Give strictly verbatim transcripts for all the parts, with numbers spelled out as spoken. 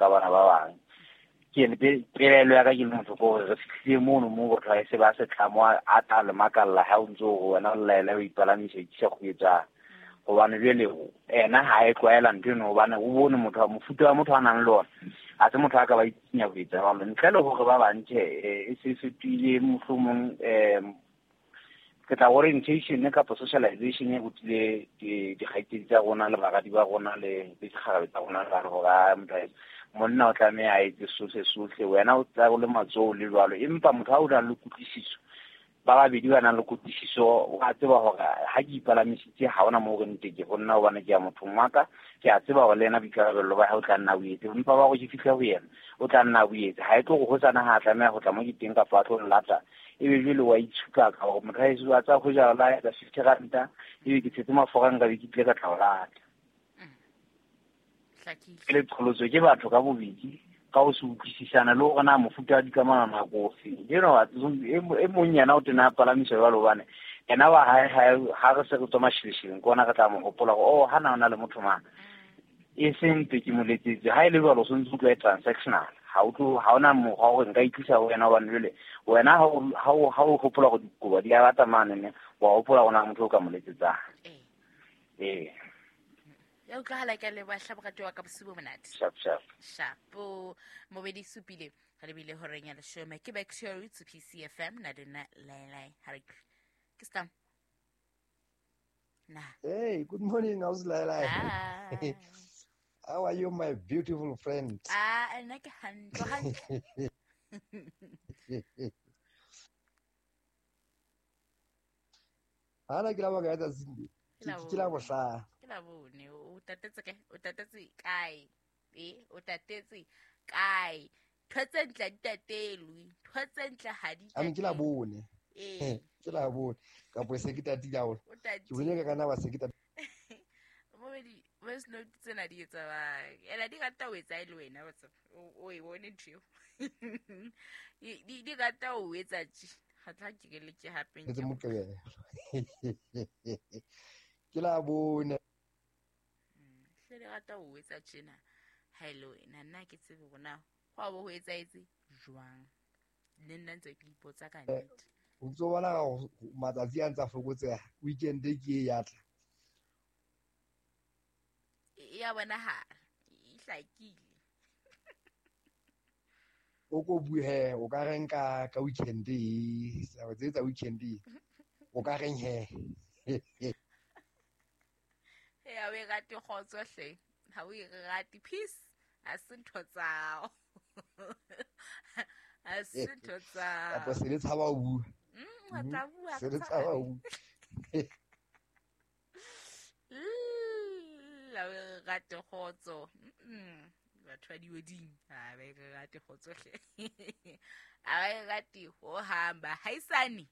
ka bana ba bang. Ke pelaelo ya ka ke le motho ke hore re fihlile mono moo batho ha e se ba se tlamo a tla le makalla ha o ntso o wena o laela o ipalamisa ikisa go etsang. Hobane jwale ena ha e tlwaela ntho eno hobane o bone motho mofuta wa motho a nang le ona a se motho a ka ba itsinya ho etsa jwalo ntle le hore ba bang tjhe e se fetohile mohlomong um ke tla orientation kapa socialization e rutile dikgaitsedi tsa rona le baradi ba rona le dikgarabe tsa rona le hore motho monna o tlameha a etse sohle sohle wena o tla o le matsoho le jwalo empa motho ha o na le kutlwisiso ba babedi ba nang le kutlwisiso wa tseba hore ha ke ipalamisitse ha hona moo re nteke ho nna hobane ke ya mothong wa ka ke a tseba hore le yena boikarabello ba hae o tla nna o etse empa ba gore ke fihle ho yena o tla nna o etse ha e tlo go hosana ha a tlameha ho tla mo ke teng kapa a tlo nlata ebe jwale wa itshupa ka hore motho haeso a tsa ho jala la etsa fifty ranta ebe ke tshetse mafura nka be ke tlile ka tla o lata. Ke le qholotso ke batho ka bobedi ka ho se utlwisisana le hore na mofuta wa dikamano nako ofe. You know, e mong yena o tena a palamiswa jwalo hobane yena wa hae ha re se re tswa mashileshileng ke ona re tla mo hopola hore oh ha na o na le motho mang e seng mpe ke mo letsetse ha e le jwalo o sontse o tlo e transactional ha o tlo ha ona mokgwa hore nka itlisa ho wena hobane jwale wena ha o ha o hopola hore dikobo di a bata mane ne wa hopola hore na motho o ka mo letsetsang. Ee. Ya utlwahala ke a leboha hle morati wa ka bosiu bo monate. Sharp sharp. Shapo. Mobedi supile re lebile horeng ya leshome ke back to your roots P C F M na lena laelai ha re ke stam. Na. Hey, good morning, how's Laelai? Hi. How are you, my beautiful friend? Ah, nna ke hantle hantle. Ana ke la ba ka etsa sinde. Ke la bohla. Ke la bone o tatetse kae? O tatetse kae? Eh, o tatetse kae? Ntho tse ntle di tatelwe, ntho tse ntle ha di. Ame ke la bone. Eh. Ke la bone. Ka po se ke tatile haholo. Ke bone ka kana ba se ke tatile. Mobedi voice note tsena di etsa bang? Ela di rata ho etsa e le wena wa tseba. O e bone ntho eo. Di di rata ho etsa tje. Ga tla ke le ke hape nke. Ke la bone. Hle di rata ho etsa tjena. Ha e le wena nna ke tsebe hore na ho a bo ho etsaetse jwang. Le nna ntse ke ipotsa ka nnete. O ntso bona matsatsi a ntsa fokotseha. Weekend ke e ya tla. Ya bonahala e hlakile. O ko bue he o ka reng ka ka weekend e tse tsa weekend e o ka reng he. Ya we rate kgotso hle ha o e rate peace a se ntho tsao. A se ntho tsao. Apo se le tshaba ho bua. Mm, wa tla bua. Se le tshaba ho bua. La we rate kgotso. Mm. Batho ba diweding ha ba e rate kgotso hle. Ha ba e rate ho hamba haisane.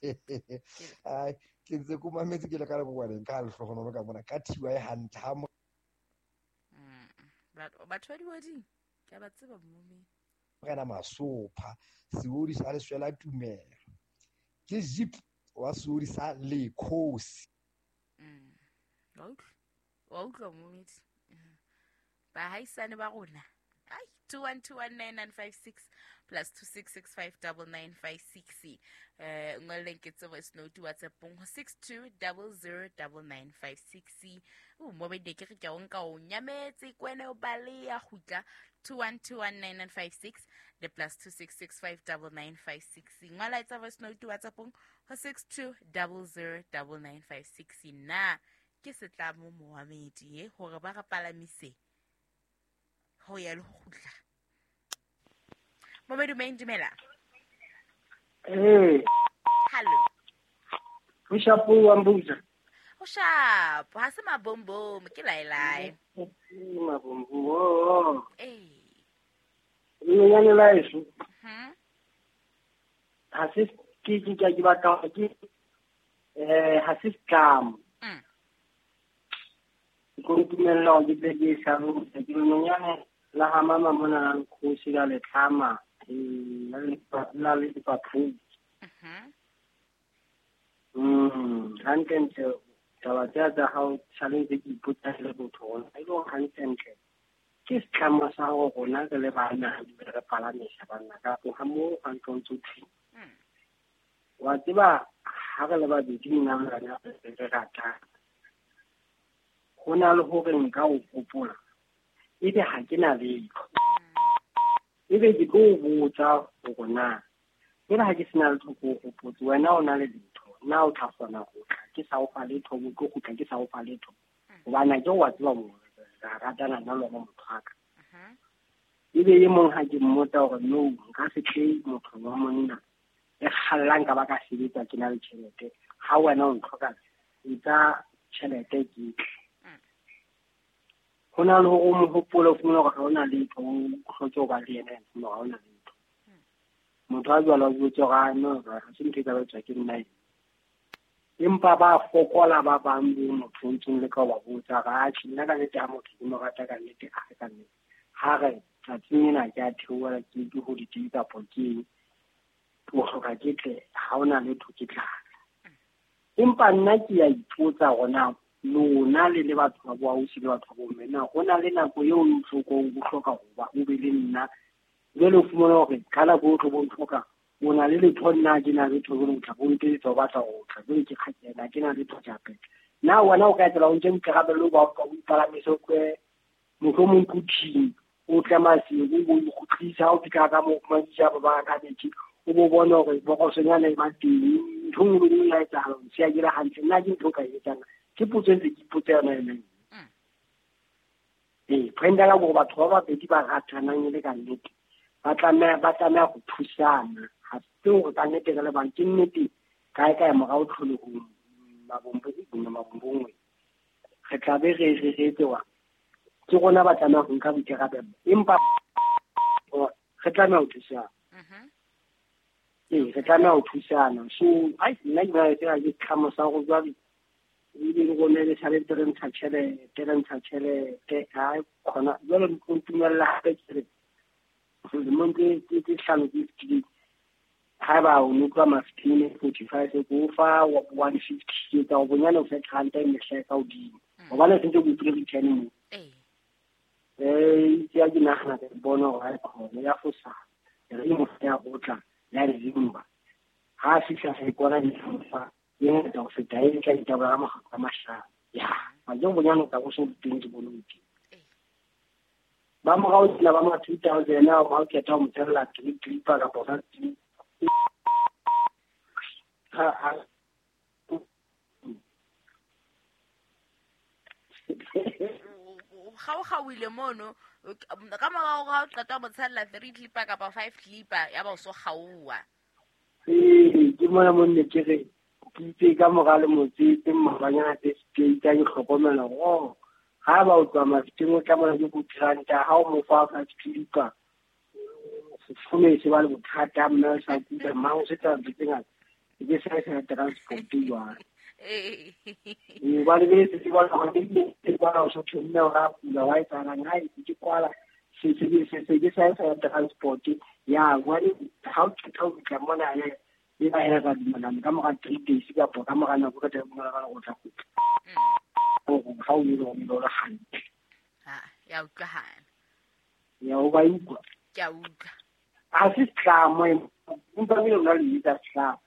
Ai ke ntse ko mametse ke le ka lebokwaneng ka lehlohonolo ka mona ka thiwa e hantle ha mo. Mm. Batho ba diweding ke ba tseba mme. Rena masopha seodi sa leswela tumelo. Ke zip wa seodi sa lekhosi. Mm. Wa utlwa. Wa utlwa momedi. Bahaisane ba rona. Ai two one two one nine nine five six plus two six six five nine nine five six. Eh ngoleng ke tse voice note WhatsApp-ong ho six two zero zero nine nine five six. O mobedi ke re ke o nka o nyametse kwene o baleya kgutla two one two one nine nine five six le plus two six six five nine nine five six. Ngola etsa voice note WhatsApp-ong ho six two zero zero nine nine five six. Na ke setlamo Mohamedi e hore ba re palamise ho ya le ho kgutla. Momedu main dumela. Eh. Hello. O shapo wa mbuza. O shapo, ha se mabombom ke laelai. Mabombom. Eh. Nnyane la eso. Mhm. Ha se ke ke ke batla ke eh ha se scam. Mm. Ko ntumella ke tle ke sa ro ke nonyane la ha mama mona la nkgosi la letlhama la la le dipapadi. Mhm. Mm, hantlentle taba tsa tsa hao challenge ke ipotsa le botho hona e le hantlentle ke Ke setlamo sa gore rona re le bana re palamisa banna ka tloga mo ga ntlo ntse thwi. Wa tseba ha re le babedi nna le wena re ratana. Ho na le hore nka o gopola ebe ha ke na letho. Ebe ke tlo o botsa hore na jwale ha ke sena letho ke o gopotse wena o na le letho na o tla kgona ho tla ke sa o fa letho o tlo kgutla ke sa o fa letho hobane ke wa tseba mo ra ratana nna le wena motho wa ka. Ebe e mong ha ke mmotsa hore no nka se tle motho wa monna e kgallang ka ba ka sebetsa ke na le tjhelete ha wena o ntlhoka etsa tjhelete ke tle. Ho na le hore o mo hopole o fumane hore ha o na letho o hloke ho ba le yena o fumane hore ha o na letho. Motho a jwalo o jwetse hore ah no ha se ntho e ka ba etswa ke nna ena. Empa ba fokola ba bang bo motho o ntsong le ka ho ba botsa hore atjhe nna ka nnete ha motho ke mo rata ka nnete a re ka nnete. Ha re tsatsing ena ke a theohela ke ke holiday kapa ke eng o hloka ke tle ha o na letho ke tla. Empa nna ke a ipotsa hore na lona le le batho ba boausi le batho ba bomme na ho na le nako eo o hlokong o hloka ho ba o be le nna jwale o fumana hore ka nako o tlo bo ntlhoka o na le letho nna ke na letho jwale o tla bo ntetsa o batla ho tla jwale ke kgakena ke na letho ke a phetha. Na wena o ka etsela o nke boikarabelo ba o ipalamise o tlohe mohlomong Quthing o tle Maseru o bo ikgutlisa ha o fihla ka moo o fumantsha ba ba kabethe o bo bone hore bokosonyana e ba teng ntho nngwe le nngwe ya etsahala o siya ke le hantle nna ke ntho o ka e etsang ke potso e ntse ke ipotsa yona yona eo. Ee, point ya ka ke hore batho ba babedi ba ratanang e le ka nnete ba tlameha ba tlameha ho thusana. Ha se hore ka nnete re le bang ke nnete kae kae morao tlholehong mabombo re tla be re re re etsewa ke rona ba tlameha ho nka boikarabelo empa re tlameha ho thusana. Ee, re tlameha ho thusana. So ai nna ke bona tsela ke tlhamo sa go jwale ebile le rona le sale re ntsha tjhelete re ntsha tjhelete ha khona jwale o ntumella hape ke re lemong tse tse hlano tse fetileng haeba o no tloha Mafeteng forty-five ko fa one fifty ke tsa o bonyane o fe ranta e mehla e ka hodimo hobane se ntse o ipule return moo. Eh ke a ke nahana ke bona hore ha e khona ya fosa re mo ya go tla ya re zimba ha fihla se kona di fa e ngata ho feta e tla ditaba ka makgetlo a mahlano ya manje bonyane o tla bo so teng ke bone o teng. Ba morao tsela ba ma two thousand ha o kgetha ho mo tshella three clipper kapa five clipper ha ha kgaokgaoile mono ka morao ga o qeta ho mo tshella three clipper kapa five clipper ya ba o so kgaowa. Ee, ke mona mo nne ke re ke itse ka mora le motse mabanyana tse ke itse ke hlokomela hore ha ba o tloha Mafeteng o tla mona ke ko ranta ha o mo fa five clipper sefome se ba le bothata mme o sa kuda mang o se tla ntho tse ngata ke sa sa transport jwale. Ee, hobane be se bona hore ke bona o so mme o ra kula wa etsahalang ha ke kwala se se se se ke sa sa transport ya hobane ha o qeta ho fihla mona e e ba hela ka dumelana ka mora three days kapa ka mora nako ka tla mora ka go tla kgutla ha o ile o ile o hantle. Ha ya utlwahala ya o ba utlwa ke a utlwa a se tlamo empa ebile o na le etsa tlamo.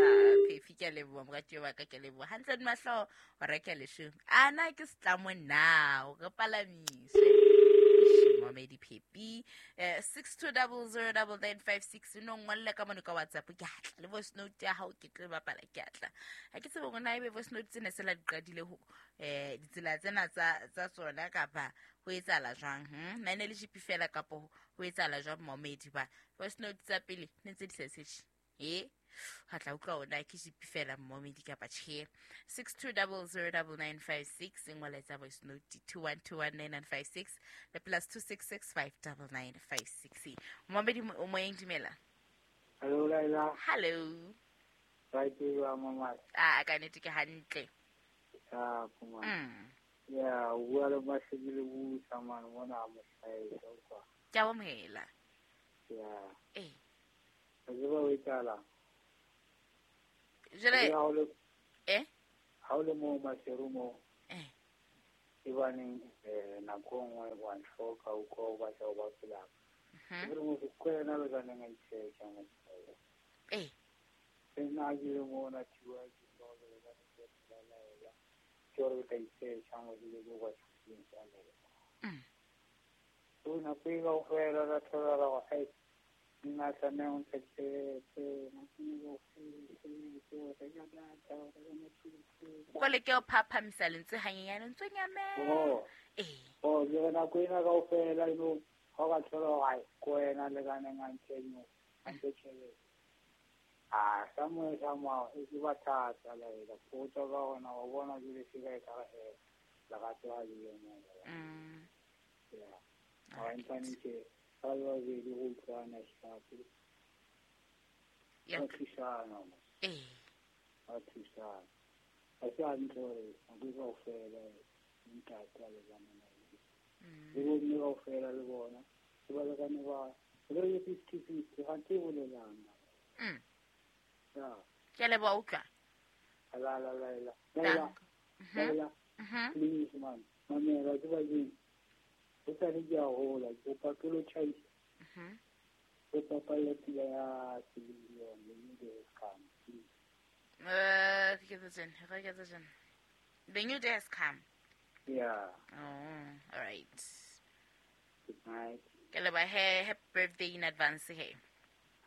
Ah, Phefi ke a leboha moratuwa wa ka ke a leboha hantle di mahlo o reka leshome a na ke setlamo na o re palamiswe Momedi Phepi eh six two zero zero nine nine five six no ngolle ka mone ka WhatsApp ke atla le voice note ya hao ke tlo bapala ke atla ha ke tsebe hore na ebe voice note tsena se la di qadile ho eh ditsela tsena tsa tsa tsona kapa ho etsahala jwang hm nna ne le G P fela kapa ho etsahala jwang Momedi ba voice note tsa pele ne tse di sa setse e ha tla utlwa ona ke G P fela Momedi kapa tjhe six two zero zero nine nine five six ngola tsa voice note two one two one nine nine five six le plus two six six five nine nine five six. Momedi o moyeng dumela. Hello Laila. Hello. Right you mama. Ah ka nnete ke hantle. Ah kuma. Ya o bua le Masebile busa mane mona mohlae kwa. Ke a amohela. Ya. Eh. Ka tseba o etsahalang. Jwale ha o le eh ha o le mo Maseru mo. Eh. E baneng eh nako nngwe wa ntlhoka o ko ba tla ba pela. Mhm. Ke re motho ko yena le ka neng a itsheka mo. Eh. Nna ke le mona thiwa ke lo le ka ke la la. Ke re ka itsheka mo le go ba tshintsa le. Mm. O na pega o fela ra thola ra go ai nna tlameha o ntshe tjhelete nako e go fela o reka data o reka Netflix. Ko le ke o phaphamisa lentswe hanyenyane ntse o nyamela. Oh. Eh. Oh, ke re nako ena kaofela you know ha o ka thola hore ai ko wena le ka neng a ntshe no a ntshe tjhelete. Ah, somewhere somehow e ke ba thata la ela go tswa ka ona wa bona jwale se ka e ka he lerato ha le yo mo. Mm. Yeah. Ha ntse ke ba le babedi go utlwana shapo. Yeah. Ba thusana mo. Eh. Ba thusana. Ha se hantle hore nako e kaofela ntate a lekane na le. Mm. Le bomme kaofela le bona. Ke balekane ba re le fifty fifty ha ke bolelang. Mm. Ya. Ke a leboha utlwa. La la la la. La la. Mhm. La la. Mhm. Please man. Mamela ke ba jeng. Ho sa le ke a hola, ke kopa ke lo tjhaisa. Mhm. Ke papalla pila ya Celine Dion, the new day has come. Please. Eh, ke tse tjena, re ke tse tjena. The new day has come. Yeah. Oh, all right. Good night. Ke leboha he, happy birthday in advance he.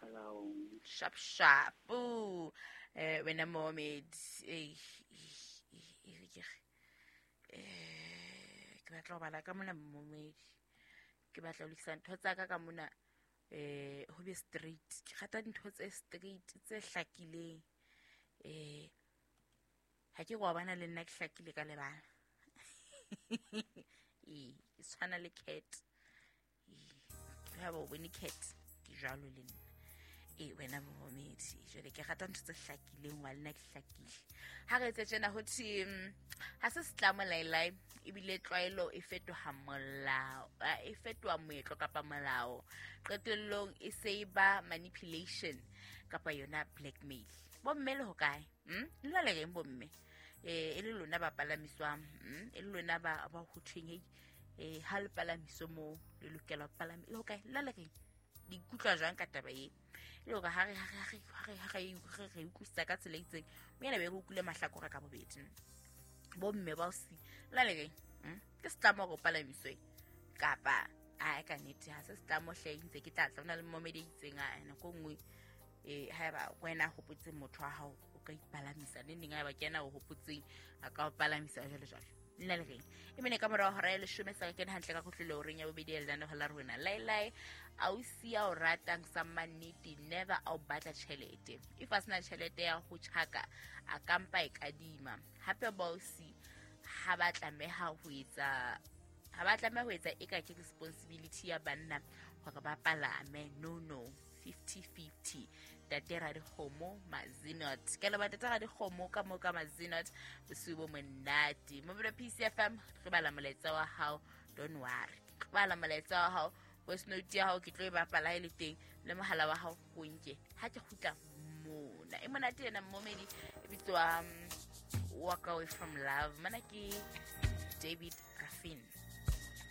Hello. Sharp sharp. Ooh. Eh wena Mohammed. Eh eh ke eh ke batla ho bala ka mona Mohammed. Ke batla ho lokisa ntho tsa ka ka mona eh ho be straight. Ke rata dintho tse straight tse hlakileng. Eh ha ke go bana le nna ke hlakile ka lebala. Eh ke tshwana le cat. Eh ha bo bone cat ke jwalo le nna. E wena Mohammed jwale ke rata ntho tse hlakileng wa nna ke hlakile. Ha re etse tjena ho thwe ha se setlamo laelai ebile tlwaelo e fetoha molao, e fetoha moetlo kapa molao. Qetellong e se e ba manipulation kapa yona blackmail. Bomme le hokae? Hm? Le le reng bomme? Eh e le lona ba palamiswang, hm? E le lona ba ba ho thweng hei eh ha le palamiso mo le lokela ho palama. Le hokae? Le le reng? Di ikutlwa jwang ka taba e? Le hore ha re ha re ha re ha re re re utlwisisa ka tsela e itseng mme ena be re utlwile mahlakore ka bobedi. Bomme ba o si la le reng? Hm? Ke setlamo hore o palamiswe kapa a ka nnete ha se setlamo hle ntse ke tla tla ona le momedi e itseng a nako e nngwe eh haeba wena hopotseng motho wa hao o ka ipalamisa neng neng haeba ke yena o hopotseng a ka o palamisa jwalo jwalo. Nna le reng e mene ka morao hora ya leshome sa kene hantle ka kotlolo horeng ya bobedi ya lenaneo la rona laelai ausi ya o ratang sa mannete never a o batla tjhelete. If a sena tjhelete ya ho tjhaka a kampa e kadima. Hape bausi ha ba tlameha ho etsa ha ba tlameha ho etsa eka ke responsibility ya banna hore ba palame. No no, fifty fifty. Tate Radikgomo Mazinot. Ke leboha Tate Radikgomo ka mo ka Mazinot bosiu bo monate. Mobile P C F M re bala molaetsa wa hao, don't worry. Re bala molaetsa wa hao, voice note ya hao ke tlo e bapala e le teng le mohala wa hao o nke. Ha ke kgutla mona. E monate ena momedi e bitswa Walk Away From Love. Mana ke David Raffin.